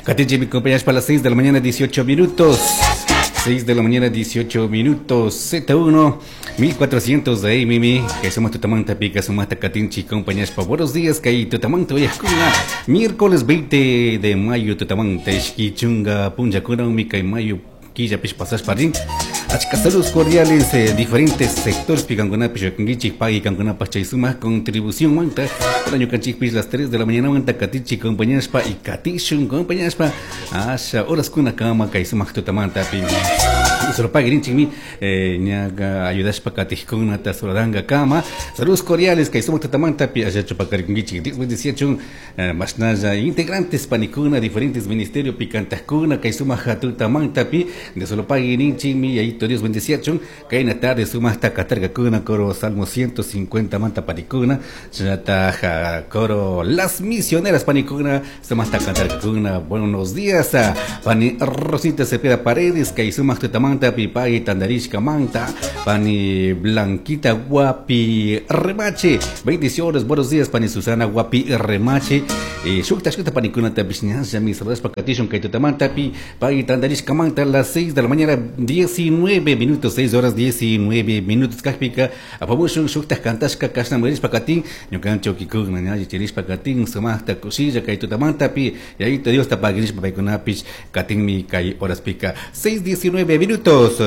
Katinchik mi compañeros para las 6 de la mañana 18 minutos. 6 de la mañana 18 minutos. Z1 1400 de ahí, Mimi. Que somos Tutamanta Pica, somos Katinchi, compañeros. Buenos días, que Tutamanta hoy miércoles 20 de mayo, Tutamanta, Chunga, Punja, Mica y Mayo, Quilla, Pish, Pasas, Parín. Achka saludos cordiales, diferentes sectores picancunapi xukunkichik pagui kankunapaj chay sumaq contribución manta ñukanchikpish las 3 de la mañana manta katichik compañaspa y katishun compañaspa asha horaskuna kama kay sumaq tutamantapi solo paguirinchikmi ñaqa ayudashpa katijkunata saludanka kama. Saludos cordiales kay sumaq tutamantapi allachu pakarikunkichik. Dios bendeciachun mashnalla integrantes panikuna diferentes ministerios picantajkuna kay sumaq tutamantapi de solo paguirinchikmi yayito Dios bendeciachun kayna tarde sumaqta katarkakuna coro Salmo 150 manta panikuna chaytaja coro Las Misioneras panikuna sumaqta katarkakuna. Buenos días pani Rosita Cepeda Paredes kay sumaq tutamanta pipagui tandarishka manta pani Blanquita Guapi Remache, bendiciones, buenos días pani Susana Guapi Remache, shukta shukta panikuna tapish ñalla mi saludashpa katishun kay tutamanta pi pagui tandarishka manta las 6 de la mañana 19 minutos, 6 horas 19 minutos kajpika apamushun shukta kantashka kashna murishpa katin ñukanchik kikuna ñalli chirishpa katin sumaqta kushilla kay tutamanta pi yayito Dios ta paguirishpa paykunapish katinmi kay horaspika 6:19 minutos.